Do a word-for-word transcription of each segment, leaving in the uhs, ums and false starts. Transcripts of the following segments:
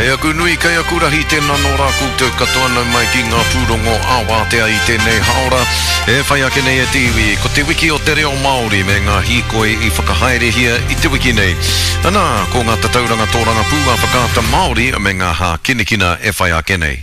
Kei aku nui, kei aku rahi, tēnā nō rā koutou katoa nau mai ki ngā pūrongo ā-wātea i tēnei hāora. E whai ake nei e te iwi, ko te wiki o te reo Māori me ngā hīkoi i whakahaerehia i te wiki nei. Anā, ko ngā tatauranga tōrangapū a Whakaata Māori me ngā hākinakina e whai ake nei.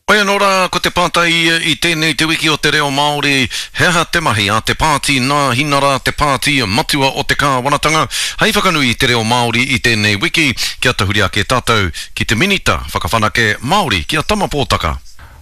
Hoi anō rā, ko te pātai ia i tēnei te wiki o te reo Māori, he aha te mahi a te pāti Nāhinara, te pāti matua o te kāwanatanga, hei whakanui i te reo Māori i tēnei wiki? Kia tahuri ake tātou ki te Minita Whakawhanake Māori, ki a Tama Pōtaka.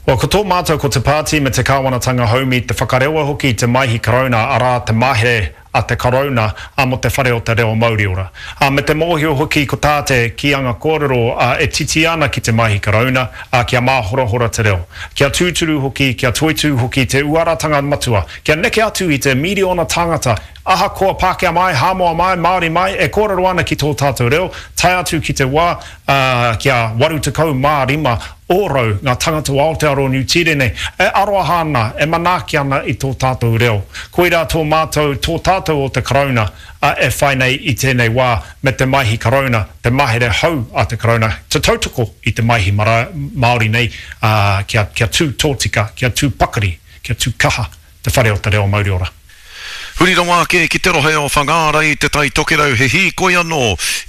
Well, ko tō mātou ko te pāti me te kāwanatanga haumi te whakarewa hoki i te Maihi Karauna, arā te mahere a te Karauna a mō te Whare o te Reo Mauriora. A me te mōhio hoki ko tā te kīanga kōrero a e titi ana ki te Maihi Karauna a kia māhorahora te reo. Kia tūturu hoki, kia toitū hoki te uaratanga matua, kia neke atu i te miriona tāngata, ahakoa Pākehā mai, Hāmoa mai, Māori mai, e kōrero ana ki tō tātou reo, tae atu ki te wā ā, kia waru tekau mā rima ōrau ngā tangata o Aotearoa Niu Tīrene e aroha ana, e manaaki ana i tō tātou reo. Koirā tō mātou, tō tātou o te Karauna, ā, e whai nei i tēnei wā me te Maihi Karauna, te mahere hou a te Karauna, te tautoko i te Maihi Māori nei, ā, kia, kia tū tōtika, kia tū pakari, kia tū kaha Te Whare o te Reo Mauriora. Huri rawa ake ki te rohe o Whangārei i Te Tai Tokerau he hīkoi anō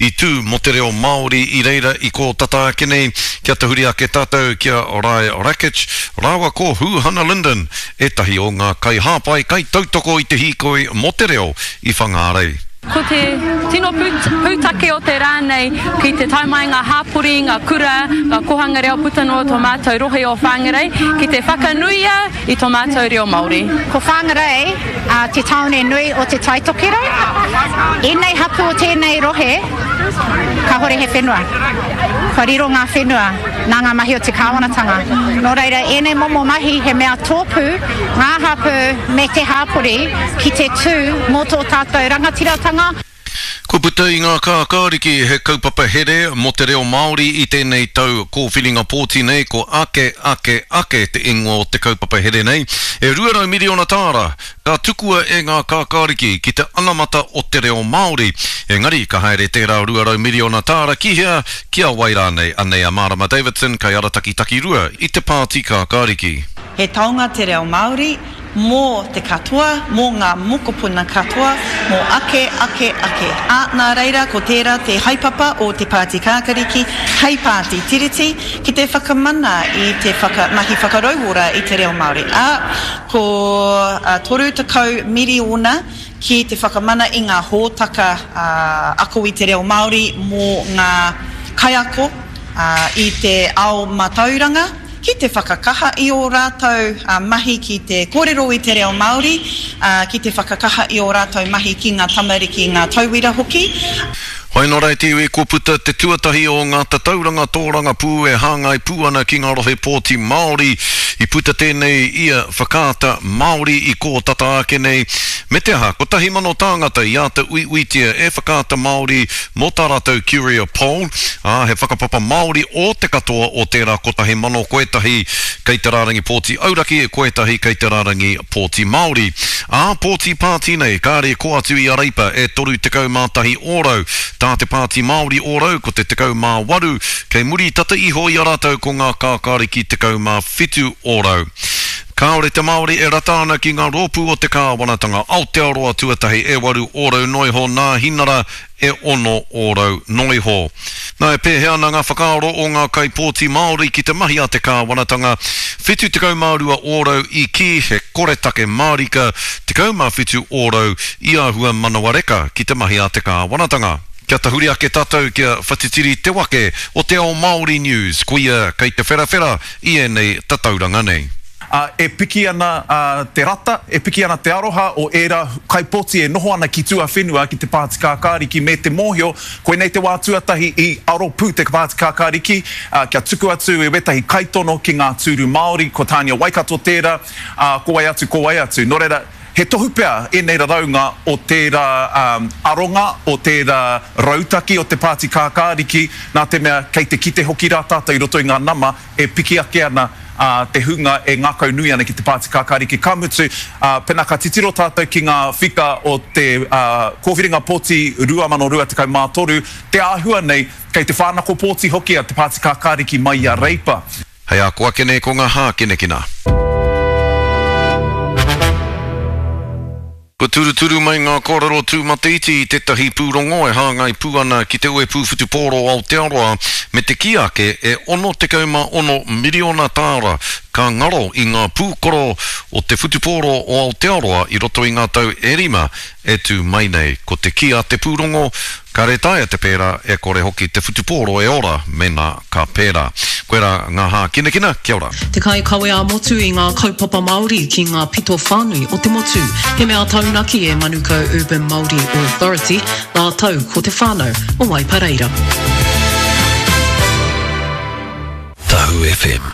i tū mō te reo Māori i reira i kō tata ake nei kia tahuri ake tātou ki a Rae Rakich rāua ko Hūhana Lyndon ētahi o ngā kaihāpai kaitautoko i te hīkoi mō te reo i Whangārei. Ko te tino pūtake o te rā nei ki te tae mai ngā hāpori, ngā kura, ngā kohanga reo puta noa tō mātou rohe o Whangarei ki te whakanuia i tō mātou reo Māori. Ko Whangarei te tāone nui o Te Tai Tokerau. Ēnei hapū o tēnei rohe kāhore he whenua. Kua riro ngā whenua nā ngā mahi o te kāwanatanga. Nō reira ēnei momo mahi he mea tōpū ngā hapū me te hāpori ki te tū mō tō tātou rangatiratanga. Kua puta i ngā kākāriki he kaupapa here mō te reo Māori i tēnei tau kōwhiringa pōti nei, ko Ake, Ake, Ake te ingoa o te kaupapa here nei. E rua rau miriona tāra ka tukua e ngā kākāriki ki te anamata o te reo Māori. Engari ka haere tērā rua rau miriona tāra ki hea, ki a wai rānei? Anei a Marama Davidson, kaiarataki takirua i te Pāti Kākāriki. He taonga te reo Māori mō te katoa, mō ngā mokopuna katoa, mō ake, ake, ake. Ā, nā reira, ko tērā te haepapa o Te Pāti Kākariki hei pāti Tiriti ki te whakamana i te whaka, mahi whakarauora i te reo Māori. Ā, ko toru tekau miriona ki te whakamana i ngā hōtaka ako i te reo Māori mō ngā kaiako i te ao mātauranga, ki te whakakaha i ō rātou mahi ki te kōrero i te reo Māori, ki te whakakaha i ō rātou mahi ki ngā tamariki, ngā tauira hoki. Whai nō reira te iwi kua puta te tuatahi o ngā tatauranga tōrangapū e hāngai pū ana ki ngā rohe pōti Māori. I puta tēnei i a Whakaata Māori i kō tata ake nei, me te aha, kotahi mano tāngata i āta uiuitia e Whakaata Māori mō tā rātou Curia Poll, ā, he whakapapa Māori ō te katoa o tērā kotahi mano, ko ētahi kei te rārangi pōti auraki, ko ētahi kei te rārangi pōti Māori. Ā pōti pāti nei, kāre kō atu i a Reipa e toru tekau mā tahi ōrau, tā te Pāti Māori ōrau ko te tekau mā waru, kei muri tata iho i a rātou ko ngā kākāriki tekau mā whitu ōrau. Kāore te Māori e rata ana ki ngā rōpū o te kāwanatanga Aotearoa tuatahi e waru ōrau noa iho nā Hinara e ono ōrau noa iho. Nā, e pēhea ana ngā whakaaro o ngā kaipōti Māori ki te mahi a te kāwanatanga? Whitu tekau mā rua ōrau i kī he koretake mārika, tekau mā whitu ōrau i āhua manawa reka ki te mahi a te kāwanatanga. Kia tahuri ake tātou ki a Whatitiri Te Wake o Te Ao Māori News, koia kei te wherawhera i ēnei tatauranga nei. Ā, e piki ana te rata, e piki ana te aroha o ērā kaipōti e noho ana ki tuawhenua ki te Pāti Kākāriki me te mōhio koinei te wā tuatahi i aro pū te Pāti Kākāriki kia tuku atu i wētahi kaitono ki ngā tūru Māori, ko Tānia Waikato tērā, ā, ko wai atu, ko wai atu. Nō reira, He tohu pea ēnei raraunga o tērā aronga, o tērā rautaki o te Pāti Kākāriki, nā te mea kei te kite hoki rā tātou i roto i ngā nama e piki ake ana te hunga e ngākaunui ana ki te Pāti Kākāriki. Ka mutu, pēnā ka titiro tātou ki ngā whika o te kōwhiringa pōti rua mano rua tekau mā toru, te āhua nei kei te whānako pōti hoki a te Pāti Kākāriki mai i a Reipa. Hei a ko ake nei ko ngā hākinakina. Kua turuturu mai ngā kōrero tūmataiti i tētahi pūrongo e hāngai pū ana ki te Uepū Whutupōro Aotearoa me te kī ake e ono tekau mā ono miriona tāra ka ngaro i ngā pūkoro o te whutupōro o Aotearoa i roto i ngā tau e rima e tū mai nei. Ko te kī a te pūrongo, Kāre taea te pērā, e kore hoki te whutupōro e ora mēnā ka pērā. Koirā ngā hākinakina, kia ora. Te kaikawe ā-motu i ngā kaupapa Māori ki ngā pito whānui o te motu. He mea taunaki e Manukau Urban Māori Authority, rātou ko te whānau o Waipareira. Tahu FM.